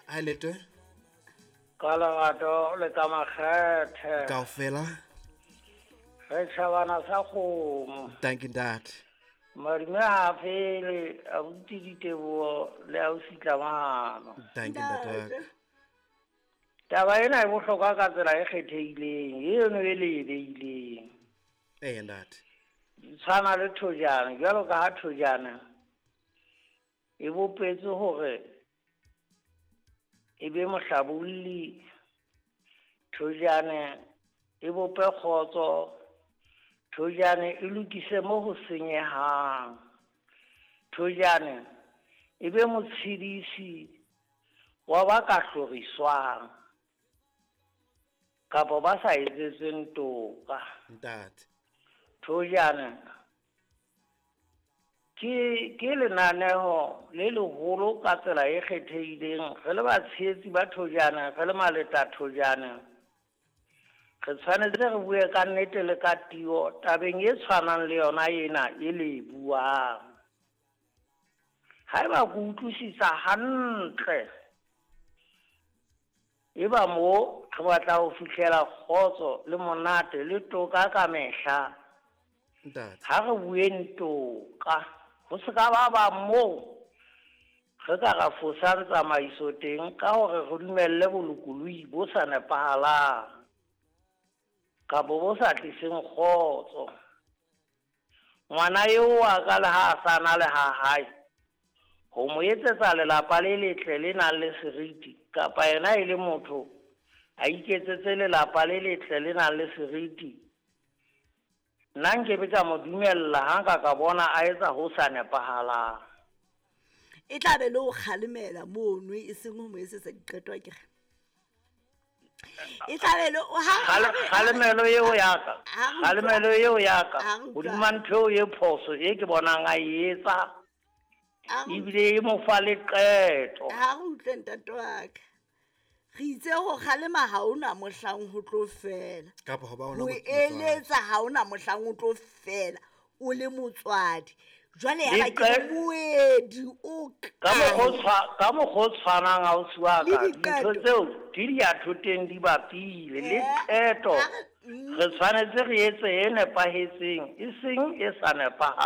Hi Letwe. Ka lerato le ka makgethe. Kaofela. Re tjhabana sa kgomo. Thank you ntate. Madume ha a fele, abuti Diteboho le ausi Tlamano. Thank you ntate wa ka. Taba ena e bohlokwa ka tsela e kgethehileng, eno e le e beileng. Ee ntate. Di tshwana le thojana, jwalo ka ha thojana e bopetswe hore e be mohlabolli, thojane e bope kgotso, thojane e lokise mo ho senyehang, thojane e be motshedisi wa ba ka hloriswang kapa ba sa etsetsweng toka. Ntate. Thojane ke ke lenaneho le leholo ka tsela e kgethehileng. Re le batshehetsi ba thojane, re le maleta thojane, re tshwanetse re bue ka nnete le ka tiyo tabeng e tshwanang le yona ena e le e buang. Haeba ke utlwisisa hantle, eba mo re batla ho fihlela kgotso le monate le toka ka mehla. Ntate. Ha re bueng toka, ho se ka ba ba moo re ka ra fosang tsamaiso teng ka hore re dumelle bolokolohi bo sa nepahalang kapa bo sa tliseng kgotso. Ngwana eo wa ka le ha a sa na le ha hae, ho mo etsetsa lelapa le letle le nang le seriti, kapa yena e le motho a iketsetse lelapa le letle le nang le seriti, nna nkebe ka mo dumella ha nka ka bona a etsa ho sa nepahalang. E tla be le ho kgalemela mono, e seng ho mo etsetsa diqeto akere. E tla be le ha Kgalemelo eo ya ka, Ha re utlwa- kgalemelo eo ya ka Ha re utlwa- hodima ntho eo e phoso e ke bonang a e etsa, Ha re ebile e mo fa le qeto. Ha re utlwe ntate wa ka. Re itse ho kgalema ha hona mohlang ho tlo fela. Kapa ho ba ona Ho motswadi. eletsa ha hona mohlang ho tlo fela o le motswadi. Jwale ya ba ke moedi o Ka mokgwa o tshwa- ka mokgwa o tshwanang ausi wa Le ka, diqeto. dintho tseo di di ya thoteng di bapile le qeto. Ha re-. Re tshwanetse re etse e nepahetseng, e seng e sa nepahalang.